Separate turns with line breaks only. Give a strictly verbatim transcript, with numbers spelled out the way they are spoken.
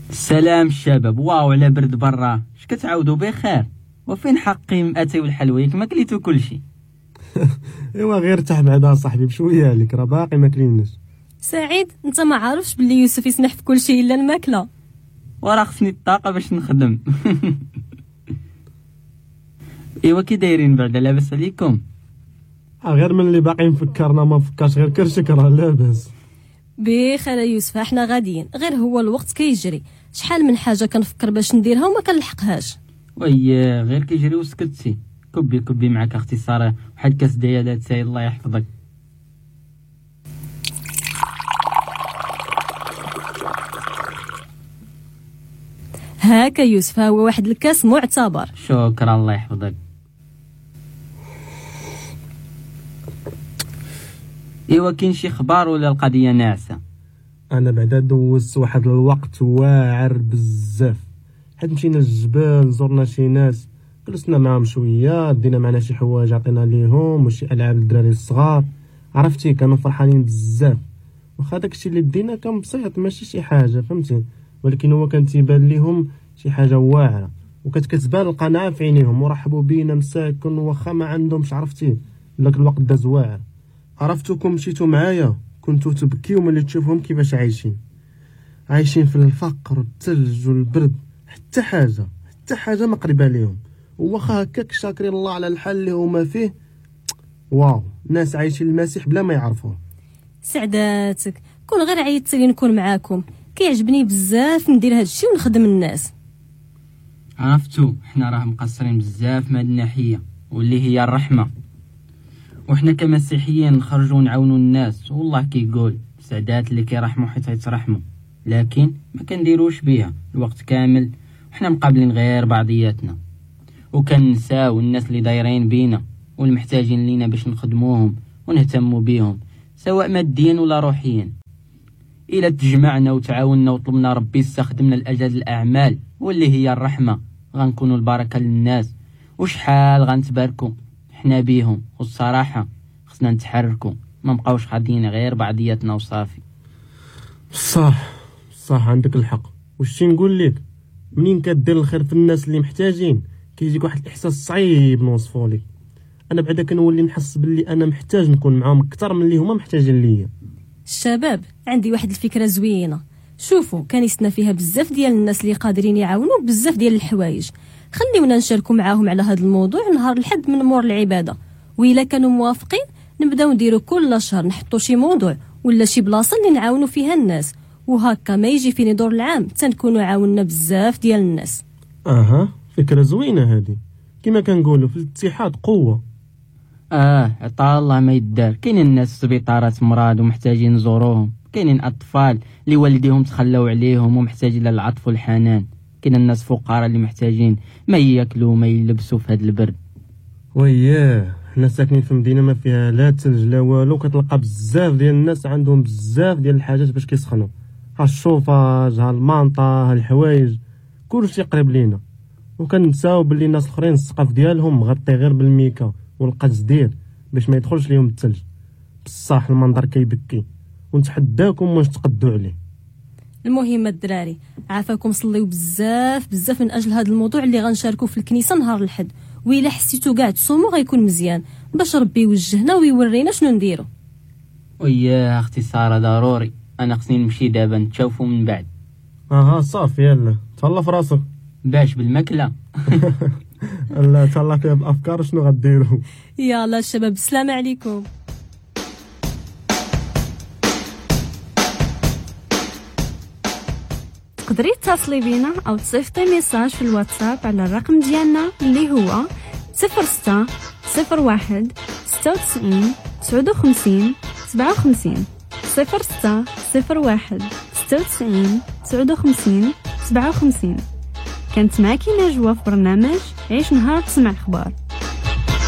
السلام الشباب، واو على برد برا، اش كتعاودوا بخير؟ وفين حقي اتاي والحلوى؟ ياك ما كليتو كلشي؟
ايوا غير ارتاح بعدا صاحبي بشوية عليك، راه باقي ما كليناش.
سعيد انت ما عارفش باللي يوسف يسمح في كل شيء الا الماكلة،
وراه خصني الطاقة باش نخدم. ايوا كي دايرين بعدا؟ لاباس عليكم؟
غير من اللي باقي مفكرنا ما مفكرش غير كرشك راه لاباس.
بخير يوسف، احنا غاديين، غير هو الوقت كيجري، شحال من حاجة كنفكر باش نديرها وما كنلحقهاش.
وي غير كيجري وسكتي. كبي كبي معاك اختي ساره واحد كاس ديال اتاي الله يحفظك.
هاكا يوسف، ها هو واحد الكاس معتبر.
شكرا الله يحفظك. ايوا كاين شي خبار ولا القضية ناعسه؟
انا بعدا دوزت واحد الوقت واعر بزاف، حيت مشينا للجبل، زرنا شي ناس، جلسنا معاهم شوية، دينا معنا شي حوايج عطينا ليهم وشي العاب للدراري الصغار، عرفتي كانوا فرحانين بزاف. واخا داكشي اللي دينا كان بسيط ماشي شي حاجة فهمتي، ولكن هو كان تيبان ليهم شي حاجة واعرة، وكتكتبان القناعة في عينيهم، ورحبوا بينا مساكن واخا ما عندهمش، عرفتي داك الوقت داز واعر. عرفتكم مشيتو معايا كنتو تبكيو ملي تشوفهم كيفاش عايشين، عايشين في الفقر والثلج والبرد، حتى حاجة حتى حاجة ما قريبه ليهم، واخا هكاك شاكرين الله على الحال اللي هما فيه. واو ناس عايشين المسيح بلا ما يعرفوه.
سعداتك، كون غير عيطتي لي نكون معاكم، كيعجبني بزاف ندير هادشي ونخدم الناس.
عرفتو حنا راه مقصرين بزاف من هاد الناحية واللي هي الرحمة، وحنا كمسيحيين نخرجوا نعاونوا الناس، والله كيقول سعدات اللي كيرحموا حيت يترحموا، لكن ما كنديروش بيها الوقت كامل، وحنا مقابلين غير بعضياتنا، وكنساو الناس اللي دايرين بينا والمحتاجين لينا باش نخدموهم ونهتموا بيهم سواء ماديا ولا روحيا. الى تجمعنا وتعاوننا وطلبنا ربي يستخدمنا لاجل الاعمال واللي هي الرحمة، غنكونوا البركة للناس، وشحال غنتباركوا حنا بيهم. والصراحة خصنا نتحركوا، ما نبقاوش حاضين غير بعضياتنا وصافي.
صح صح عندك الحق. وشتي نقول لك، منين كدير الخير في الناس اللي محتاجين كيجيك واحد الاحساس صعيب نوصفو لك. انا بعدا كنولي نحس باللي انا محتاج نكون معاهم اكثر من اللي هما محتاجين ليا.
الشباب عندي واحد الفكرة زوينة، شوفوا كنيستنا فيها بزاف ديال الناس اللي قادرين يعاونوا بزاف ديال الحوايج، خليونا نشاركوا معاهم على هذا الموضوع نهار الحد من مور العبادة، وإلا كانوا موافقين نبداو نديروا كل شهر نحطوا شي موضوع ولا شي بلاصة اللي نعاونوا فيها الناس، وهكا ما يجي فيني دور العام تنكونوا عاوننا بزاف ديال الناس.
اها فكرة زوينة هذه، كما كنقولوا في الاتحاد قوة.
اه عطا الله ما يدار، كاينين الناس في سبيطارات مرض ومحتاجين نزوروهم، كاينين اطفال اللي والديهم تخلاو عليهم ومحتاجين للعطف والحنان، كاين الناس فقراء اللي محتاجين ما ياكلوا ما يلبسوا في هذا البرد.
وياه حنا ساكنين في مدينة ما فيها لا ثلج لا والو، كتلقى بزاف ديال الناس عندهم بزاف ديال الحاجات باش كيسخنوا، ها الشوفاج ها المانطا ها الحوايج، كلشي قريب لينا، وكنساو باللي الناس الاخرين السقف ديالهم مغطي غير بالميكا والقزدير باش ما يدخلش ليهم الثلج. بصح المنظر كيبكي، ونتحداكم واش تقدوا عليه.
المهم الدراري عافاكم صليو بزاف بزاف من اجل هذا الموضوع اللي غنشاركو في الكنيسة نهار الحد، وإلا حسيتو كاع تصوموا غيكون مزيان باش ربي يوجهنا ويورينا شنو نديرو.
وياه اختي ساره ضروري، انا خصني نمشي دابا، نتشوفوا من بعد.
اها صافي يلا تهلا في راسك.
باش بالماكله.
لا تهلا فيها بالافكار شنو غديروا.
يلا الشباب السلام عليكم.
تقدري تتصلي بينا او تصيفطي message في الواتساب على الرقم ديالنا اللي هو صفر ستة صفر واحد ستة وتسعين تسعة وخمسين سبعة وخمسين، صفر ستة صفر واحد ستة وتسعين تسعة وخمسين سبعة وخمسين. كانت معك نجوى في برنامج عيش نهار تسمع الأخبار.